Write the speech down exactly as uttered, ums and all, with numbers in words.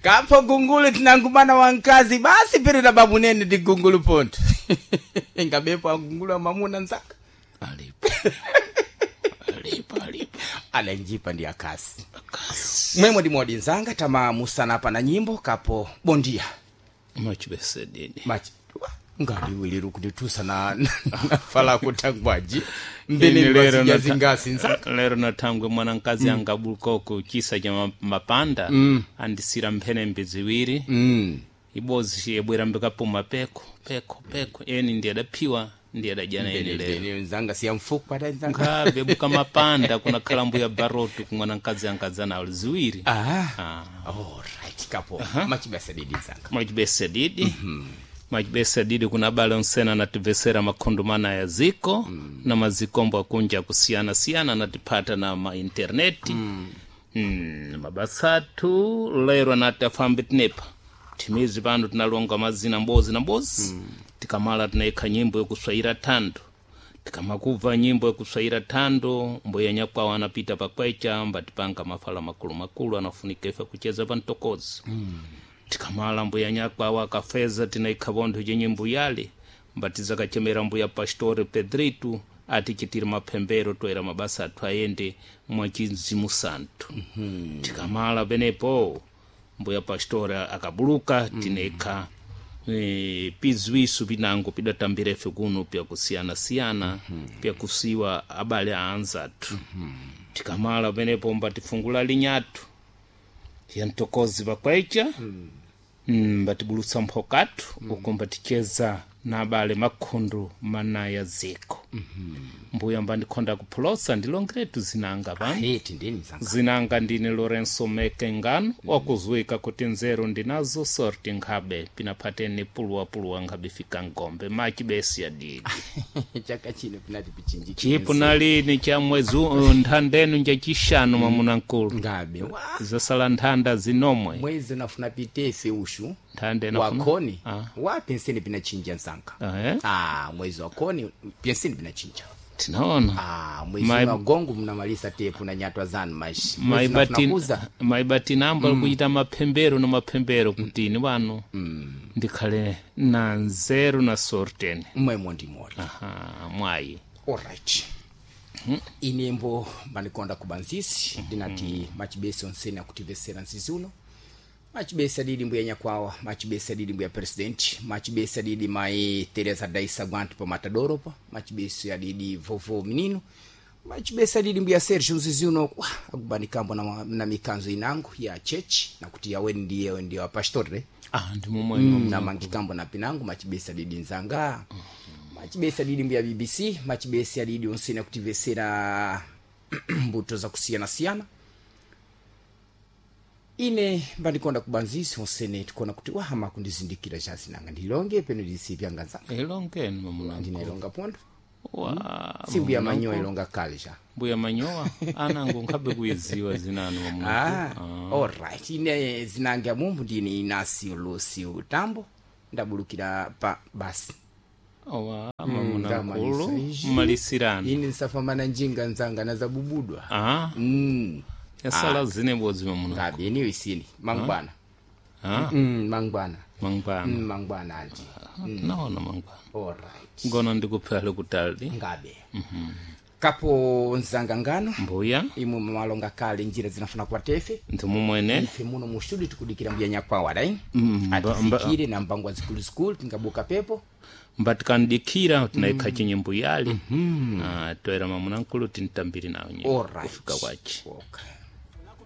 Kapo gungulu tinangumana wankazi basi pere na babu nene ndi gungulu ponto. Ngabepo agungulu amamuna nzaka. Alipo alipo alipo. Alanjipa ndi akasi. Akasi. Mwemo ndi modi nzanga tama musana pa na nyimbo kapo bondia. Machibesedidi. Machi ngaliwiliru kunditusa na, na, na fala kutangwaji mbene Ini lero mbasija nata- zingasi nzaka. lero natangwe mwanankazi mm. angabuluka kuchisa cha ma- mapanda mm. andisira mphenembe ziwiri Mm. ibozi yebwera mbikapuma peko peko peko eni ndi adaphiwa ndi adajana eni lero Mbene nzanga siya mfuku pada nzanga. nkhabe mapanda kunakhala mbuya barotu kumwanankazi angadzanawo ziwiri Ah. Ah. Alright, kapo machibasa didi nzanga. mwachibesa didi mwachibesa didi kuna abale onsena anatibvesera makhundu mana ya ziko mm. na mazikombo akunja kusiyana-siyana anatiphata na mainterneti mm. mm, mabasa athu lero anati afambe tinepa thimizi pano tinalonga mazina mbozi na mbozi mm. tikamala tinayikha nyimbo yokuswayira thando tikamakubva nyimbo yokuswayira thando mbuya nyakwawo anapita pakwecha mbatipanga mafala makulu makulu anafunika ife kucheza pa mtokozi mm. Tikamala mbuya nyakwawo akafeza tinaikha vontho chenyimbo yale mbatizakachemera mbuya pastore Pedrito atichitira maphembero toera mabasa athu ayende mwachinzimu santu mm-hmm. Tikamala penepo mbuya pastore akabuluka mm. Tinaikha e, pizwisu pinango pidatambira ife kuno pyakusiyana-siyana mm-hmm. Pyakusiwa abale a anzathu mm-hmm. Tikamala penepo mbatifungula linyathu ya mtokozi pakwecha mm. Mbatibulutsa mphokathu mm. Uko mbaticheza na abale makhundu manaya ziko mm-hmm. Mbuya mbandikhonda kuphulosa ndilongeretu zinanga pano. Heti ndini nzanga. Zinanga ndine Lorenso Mekengano wakuzuika kuti nzeru ndinazo sorti nkhabe pinaphateni puluwapuluwa nkhabe fika ngombe machibesi adidi. Chaka chino pinati pichinji. Chipo nalini cha mwezi uh, nthandenu njachishanu mwamuna nkulu. Ngabe wa zasala nthanda zinomwe. Mwezi unafuna pitefe ushu. Nthanda inafuna- Wakoni Ah. wa penseni pinachinja nzanga. Ah, eh? Ah, mwezi wakoni penseni pinachinja. Tinaona. Ah, mwezi Mai- wa gongo mnamalisa tepu na nyatwa zanu mashi. Mwezi unafuna kuza. maibatinambo mm. Alikuchita maphembero na maphembero kuti ini wano mm. Ndikhale na nzeru na sorteni. Mwemo ndi modi. Aha, mwayi. Alright. Inembo manikonda kubanzisi ndinati machibesi onsene akutivesera nzizi uno machibesi adidi mbuya nyakwawa machibesi adidi mbuya president machibesi adidi mai Teresa Daisa Gwantu pa Matadoro pa machibesi adidi vovo minino machibesi adidi mbuya Sergio nzizi uno wa, akubanikambo na, na mikanzo inangu ya chechi nakuti yaweni ndiye ndiye wapastorre. Ah, ndi momwemo. Mm, na mangikambo na pinangu machibesi adidi nzanga machibesi adidi mbuya B B C machibesi adidi onsene akutivesera mbuto za kusiyana-siyana ine mbandikonda kubanzisi onsene tikuona kuti wahama kundizindikira chazinanga ndilonge peno ndisipyanga nzanga. Ilongeni mamuna. Ndinailonga pondo. Wa si mbuya manyowa ilonga kale cha. Mbuya manyowa anango nkhabe kuyiziwa zinanu mamuna. Ah, alright, ine zinange mumbu ndine Inasio Lucio Tambo ndabulukira pa basi. Owa mamuna Ndamalisa nkulu. izhi. Mmalisirano. Ine nsafamana njinga nzanga nazabubudwa. Ah. Mm. Yasala zine bodzi mamuna. Ngabe niyo isini mangwana. Ah. Mm, mangwana. Mangwana. Mm, mangwana anti. Naona mangwana. Alright. Ngono ndikuphale kutali. Ngabe kapo nzanga ngano. Mbuya. Imwe malonga kale njira zinafuna kwa tefe. Ndi mumwene. Ife muno mu studio tikudikira mbuya nyakwawa dai Mm, mba- mba- atifikire na mbangwa zikuluzikulu tingabuka pepo. Mbatikandikira tinaikha chinyimbo yale mm. Ah, toera mamuna nkulu tintambiri nawo nyimbo Alright. kufika kwachi. Okay.